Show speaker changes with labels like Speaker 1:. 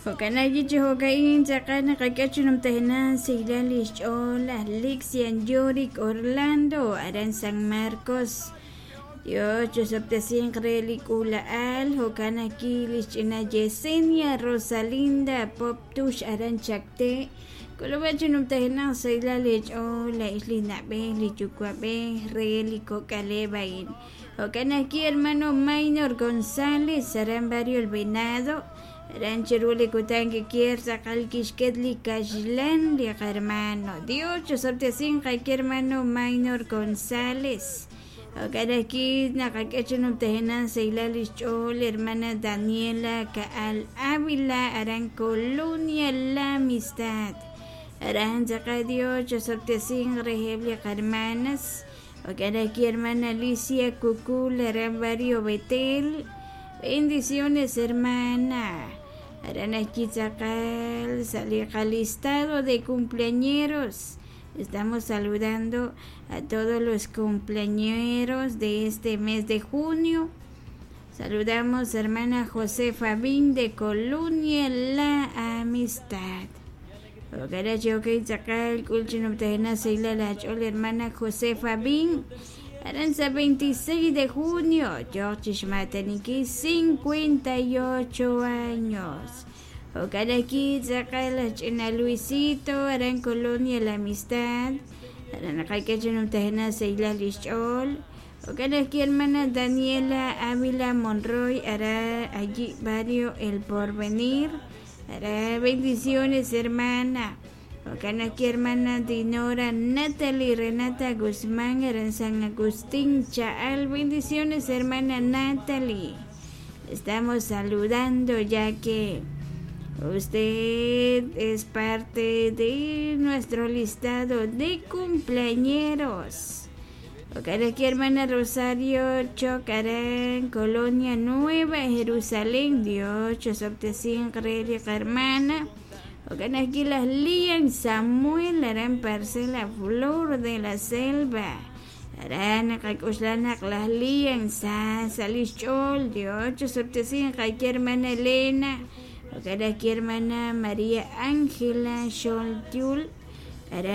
Speaker 1: Jo'kan ajwi' chi jo'ka'in tz'aqal naqak'e chi numtajenaq xsahilal li xch'ool laj Lixian Yorick Orlando aran San Marcos. Dios chosob'tesinq re li k'uula'al, jo'kan ajwi' li xch'ina Yesenia Rosalinda Pop Tux aran Chacté. K'ulub'ej chi numtajenaq xsahilal li ch'ool laa'ex li na'b'ej li yuwa'b'ej re li kok'aleb' a'in. Jo'kan ajwi' hermano Maynor González aran Barrio El Venado, aran chiru li kutan kikier tz'aqal kixket li kaxlan li qahermano. Dios chosob'tesinq qake hermano Maynor González. Jo'kan ajwi' naqak'e chi numtajenaq xsahilal li xch'ool hermana Daniela Ka'al Ávila aran Colonia La Amistad. Aran tz'aqal Dios chosob'tesinq reheb' li qahermanas. Jo'kan ajwi' hermana Alicia Cucul aran Barrio Betel. Bendiciones, hermana. Aran ajwi' tz'aqal sa' li qalistado de cumpleañeros. Estamos saludando a todos los cumpleañeros de este mes de junio. Saludamos hermana Josefa Bin de Colonia La Amistad. Hermana Josefa Bin. Aranza 26 de junio, George Xmataniki, 58 años. Jo'kan ajwi' tz'aqal laj ch'ina Luisito aran Colonia La Amistad, aran naqak'e chi numtajenaq xsahilal li xch'ool. Jo'kan ajwi' hermana Daniela Ávila Monroy aran allí barrio El Porvenir. Aran bendiciones, hermana. Jo'kan ajwi' hermana Dinora Natalie Renata Guzmán aran San Agustín Cha'al. Bendiciones, hermana Natalie. Estamos saludando ya que usted es parte de nuestro listado de cumpleañeros. Jo'kan ajwi' hermana Rosario Chocarán, Colonia Nueva Jerusalén. Dios chosob'tesinq re li qahermana. Jo'kan ajwi' laj Lian Samuel aran Parcela Flor de la Selva. Aran naqak'oxla naq laj Lian sa sa' li xch'ool. Dios chosob'tesinq qake hermana Elena. Jo'kan ajwi' hermana María Ángela Xoltiul. Aran